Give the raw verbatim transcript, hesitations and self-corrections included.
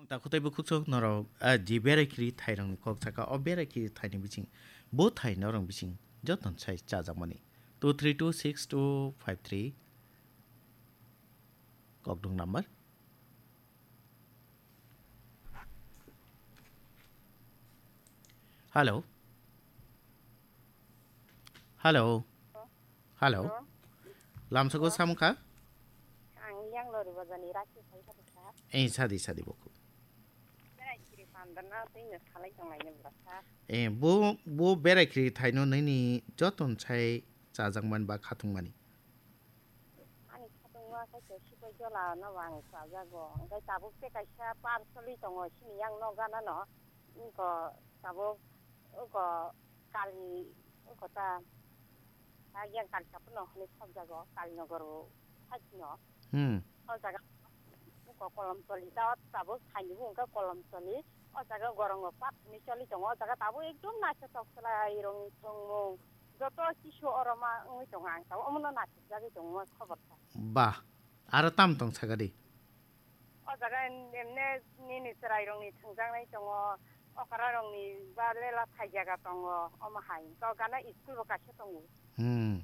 Takhuk tei bukhuk sok norok, ah, ji berai khiri thairokni kok saka, o berai khiri thaini bising, bo thai norok bising joton sai chajakmani. Two three two six two five three kokdung number. Hello. Hello. Hello. Hello. Lamsoko Hello. Samkha? Ang yang lori bajani raki sai kha. Eh, sadi, sadi boku. Berai khiri pandana tei no salai tong lai ne bwsa. Eh, bo, bo berai khiri thaino nini joton sai chajakmani ba khatungmani. Ani khatungma khe se sipai jola no ang chajago. Hingke tabuk tei kaisa par soli tongo sini yang no gana no. Wngkha tabuk, wngkha kali, wngkha ta, ta yang kali sapono hwnwi thokjago, Kalinagar o side no. Hmm. O jaga wngkha Kolomtoli, ta o tabuk thaini bo wngkha Kolomtoli. O jaga gorongo pat hwnwi choli tongo, o jaga tabuk ekdom naithotok chwlairokni tongmung. Joto kisu oro ma wngwi tongo ang, tabuk omono naithokjagwi tongo khobor ta. Ba, aro tam tong sakadi? O jaga em-, emne nini chwrairokni thwngjaknai tongo, okrarokni ba lela thai jaga tongo, omo hai. To gana school bo kaisa tongo. Hmm.